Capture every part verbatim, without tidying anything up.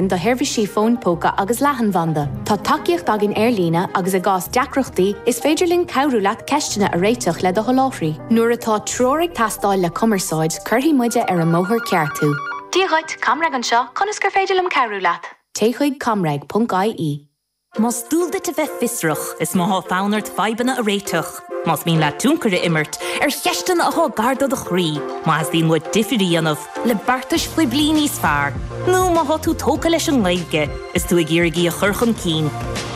do sheirbhísí fóin póca agus leathanbhanda. Tá tacaíocht againn ar líne agus i gcás deacrachtaí is féidir linn cabhrú leat ceisteanna a réiteach le do sholáthraí. Nuair atá treoir ag teastáil le cumarsáid, cuirfidh muide ar an mbóthar ceart thú. Dia dhuit, ComReg anseo, conas gur féidir liom cabhrú leat. Téigh chuig comreg.ie. Más dual duit a bheith fiosrach is má tá fonn ort fadhbanna a réiteach. Más mian leat tionchar a imirt ar cheisteanna atá gar do do chroí, má theastaíonn uait difear a dhéanamh le beartais phoiblí níos fearr, nó má tá tú tógtha leis an nGaeilge, is tú ag iarraidh í a chur chun cinn.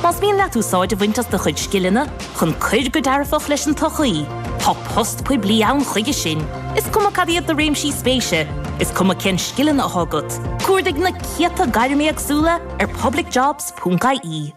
Más mian leat úsáid a bhaint as do chuid scileanna chun cur go dearfach leis an tsochaí, Tá post poiblí ann chuige sin, Is cuma cad iad do réimsí spéise, is cuma cén scileanna atá agat. Cuardaigh na céadta gairm éagsúla ar publicjobs.ie.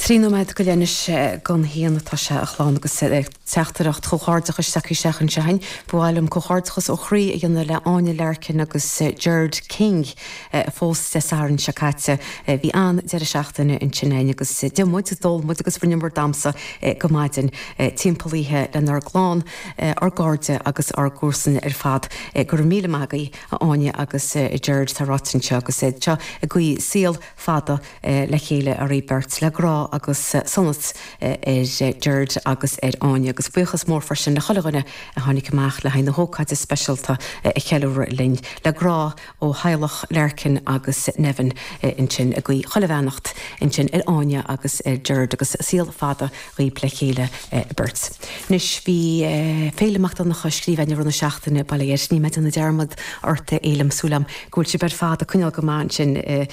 Trí nóiméad go leith anois don haon atá sé a chlann agus teachtaireacht chomhghairdeachais tagtha isteach anseo againn. Ba mhaith liom comhghairdeachas ó chroí a dhéanamh le Áine Larkin agus Gerard King a phós Dé Sathairn seo caite. Bhí an-deireadh seachtaine ansin againn agus d'ith muid, d'ól muid agus rinneamar damhsa go maidin timpeall oíche lenár gclann, ár gcairde agus ár gcomharsana ar fad. Go raibh míle maith agaibh a Áine agus Gerard tá ráite anseo agus seo ag guí saol fada le chéile oraibh beirt le grá agus sonas ar Gerard agus ar Áine agus buíochas mór freisin le chuile dhuine a tháinig amach le haghaidh na hócáide speisialta a cheiliúradh linn le grá ó theaghlach Larkin agus Nevin ansin ag guí chuile bheannacht ansin ar Áine agus ar Gerard agus saol fada dhaoib le chéile beirt. Anois bhí Féile Mac Donncha scríbhinn i rith na seachtaine bail ó Dhia ort, níl mé ag déanamh dearmad ort a Fhéilim súil agam go bhfuil sibh ar fad ag coinneáil go maith ansin i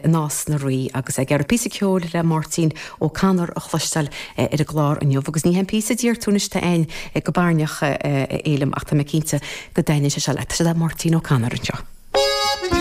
Nás na Rí agus ag iarraidh píosa ceoil le Máirtín Ó Connor a chloisteáil ar an gclár inniu agus ní hé an píosa a d'iarr tú anois tá againn go barainneach a Fhéilim ach tá mé cinnte go dtaitneoidh sé seo leat. Tá sé le Máirtín Ó Connor anseo.